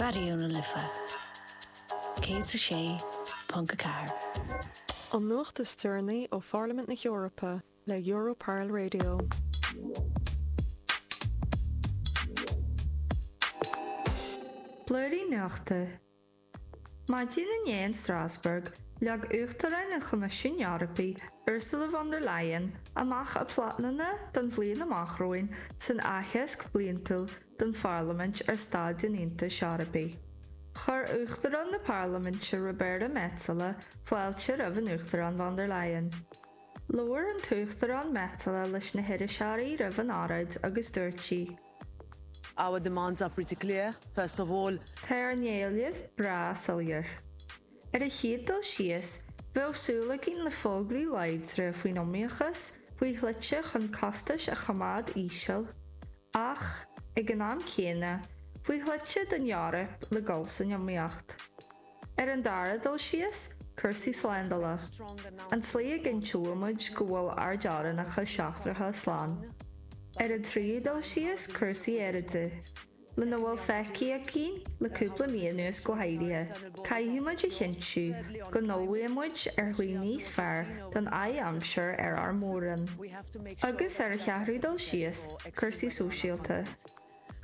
Raidió na Life 106.4. An nuacht is deireanaí ó Pharlaimint na hEorpa le Europarl Radio. Blúirín Nuachta. Maidin inné in Strasbourg, leag Uachtarán an Choimisiúin Eorpaigh, Ursula von der Leyen, amach a pleananna don bhliain amach romhainn san aitheasc bliantúil don Pharlaimint ar Staid an Aontais Eorpaigh. Chuir Uachtarán na Parlaiminte Roberta Metsola fáilte roimh an Uachtarán von der Leyen. Labhair an tUachtarán Metsola leis na hiriseoirí roimh an óráid agus dúirt sí. Our demands are pretty clear. First of all. Tá ár n-éilimh breá soiléir. Ar an chéad dul síos, bheadh súil againn le fógraí láidre faoin iomaíochas, faoi shlite chun costais a choimeád íseal, ach, ag an am céanna, faoi shlite don Eoraip le dul san iomaíocht. Ar an dara dul síos, cúrsaí slándála. An tslí a gcinnteoidh muid go bhfuil ár dteorainneacha seachtracha slán. Ar an tríú dul síos, cúrsaí aeráide. Lena bhfuil feicthe againn le cúpla mí anuas go háirithe, caithfidh muid a chinntiú go n-ullmhaíonn muid ar shlí níos fearr don adhaimsir ar ár mór-roinn. Agus ar an cheathrú dul síos, cúrsaí sóisialta.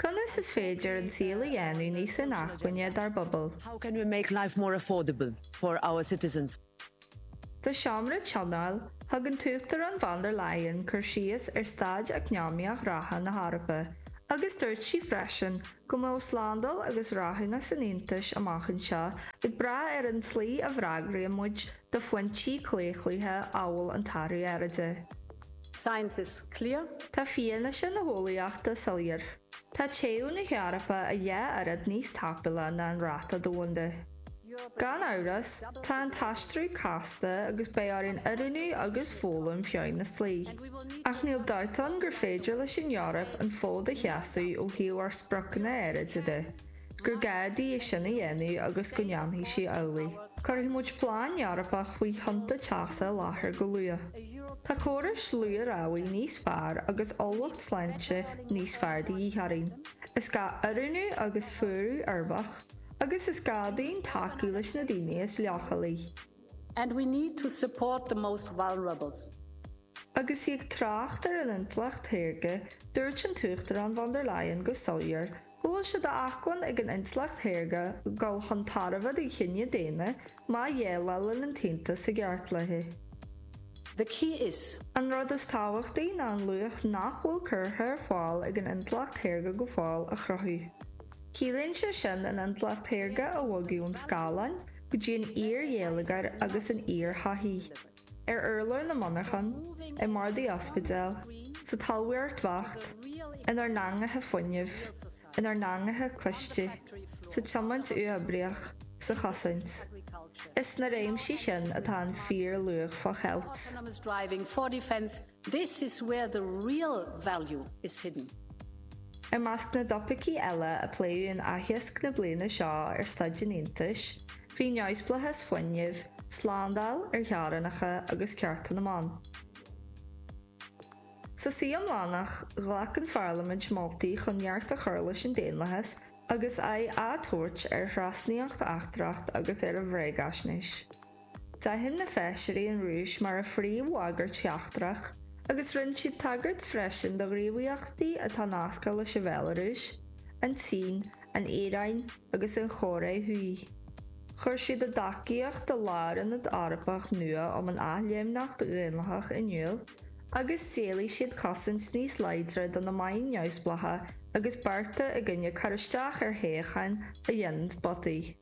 Conas is féidir an saol a dhéanamh níos inacmhainne dár bpobail? How can we make life more affordable for our citizens? Sa seomra tionóil, thug an tUachtarán von der Leyen cur síos ar staid eacnamaíoch reatha na hEorpa agus dúirt sí freisin go mbeadh slándáil agus rathúnas an Aontais amach anseo ag brath ar an tslí a bhfreagraíonn muid do phointí claochlaithe amhail an t-athrú aeráide. Science is clear. Tá fianaise na heolaíochta soiléir. Tá téamh na hEorpa a dhá oiread níos tapúla ná an ráta domhanda. Gan amhras, tá an t-aistriú casta agus beidh orainn oiriúnú agus foghlaim feadh na slí. Ach níl dabht ann gur féidir leis an Eoraip an fód a sheasamh ó thaobh ár spriocanna aeráide de, gur gá di é sin a dhéanamh agus go ndéanfaidh sí amhlaidh. Cuirfidh muid plean Eorpach faoi thonnta teasa i láthair go luath. Tá córais luath-rabhaidh níos fearr agus ullmhacht sláinte níos fearr de dhíth orainn. Is gá oiriúnú agus fuarú uirbeach. Agus is gá dúinn tacú leis na daoine is leochailí. And we need to support the most vulnerables. Agus í ag trácht ar an intleacht shaorga, dúirt an tUachtarán von der Leyen go soiléir go bhfuil sé d'acmhainn ag an intleacht shaorga dul chun tairbhe don chine daonna má dhéileálann an tAontas i gceart léi. The key is. An rud is tábhachtaí ná an luach nach bhfuil curtha ar fáil ag an intleacht shaorga go fóill a chruthú. Ciallaíonn sé sin an intleacht shaorga a bhogadh ón scáileán go dtí an fhíorgheilleagar agus an fhíorshochaí, ar urlár na monarchan, i mbardaí ospidéal, sa talmhaíocht bheacht, inár n-eangacha fuinnimh, inár n-eangacha cliste, sa tiomáint uathoibríoch, sa chosaint. Is sna réimsí sin atá an fíorluach fá cheilt. This is where the real value is hidden. I measc na dtopaicí eile a pléadh in aitheasc na bliana seo ar staid an Aontais, bhí neamhspleáchas fuinnimh, slándáil ar theorainneacha agus cearta na mban. Sa suí iomlánach, ghlac an Pharlaimint moltaí chun neart a chur leis an daonlathas agus aghaidh á tabhairt ar thrasnaíocht eachtrach agus ar an bhréagaisnéis. D'aithin na feisirí an Rúis mar a phríomhbhagairt sheachtrach agus rinne siad tagairt freisin do ghníomhaíochtaí atá nasctha leis an Bhealarúis, an tSín, an Iaráin agus an Chóiré Thuaidh. Chuir siad a dtacaíocht do Lárionad Eorpach nua um an Athléimneacht Dhaonlathach in iúl agus d'éiligh siad cosaint níos láidre do na meáin neamhspleácha agus bearta i gcoinne cur isteach ar thoghcháin a dhéanann botaí.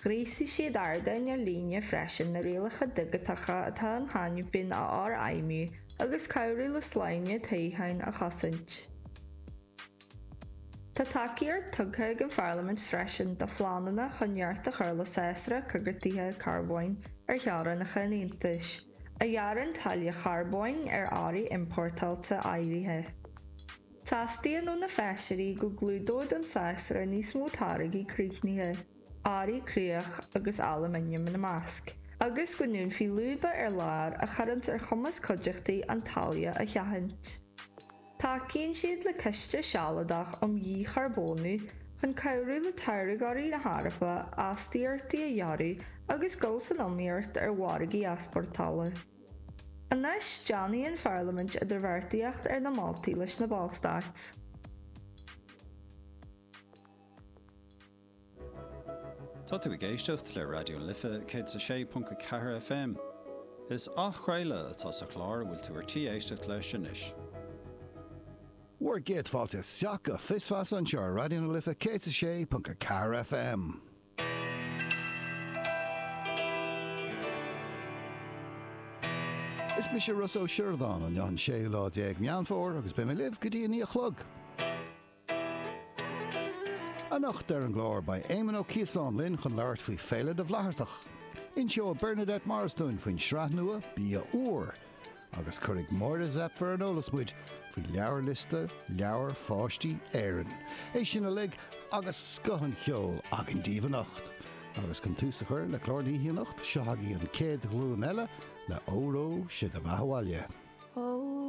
Ghríosaigh siad ardáin ar líne freisin na rialacha digiteacha atá ann cheana féin a fhorfheidhmiú agus cabhrú le sláine toghcháin a chosaint. Tá tacaíocht tugtha ag an Pharlaimint freisin do phleananna chun neart a chur le sásra coigeartaithe carbóin ar theorainneacha an Aontais, a ghearrann táille charbóin ar earraí iompórtáilte áirithe. Teastaíonn ó na feisirí go gclúdódh an sásra níos mó táirgí críochnaithe, earraí cruach agus alúmanaim ina measc, agus go ndúnfaí lúba ar lár a chuireanns ar chumas cuideachtaí an táille a sheachaint. Tacaíonn siad le ciste sealadach um dhícharbónú chun cabhrú le táirgeoirí na hEorpa astaíochtaí a ghearradh agus dul san iomaíocht ar mhargaí easpórtála. Anois déanfaidh an Pharlaimint idirbheartaíocht ar na moltaí leis na Ballstáit. Tá tú ag éisteacht le Raidió na Life 106.4 FM. Is athchraoladh atá sa chlár a bhfuil tú ar tí éisteacht leis anois. Bhur gcéad fáilte isteach go Fios Feasa anseo ar Raidió na Life 106.4 FM. Is mise Rossa Ó Sioradáin, inniu an séú lá déag Meán Fómhair agus beidh mé libh go dtí a 9 a chlog. Anocht ar an gclár beidh Éamon Ó Ciosáin linn chun labhairt faoi Féile na bhFlaitheartach. Inseoidh Bernadette Morris dúinn faoin sraith nua Bia Úr. Agus cuirfidh Máire Zepf ar an eolas muid faoi leabharliosta Leabhair Pháistí Éireann. É sin uilig agus scoth an cheoil againn daoibh anocht. Agus chun tús a chur le clár na hoíche anocht, seo agaibh an chéad ghlúin eile le Óró Sé do Bheatha 'Bhaile. Ó.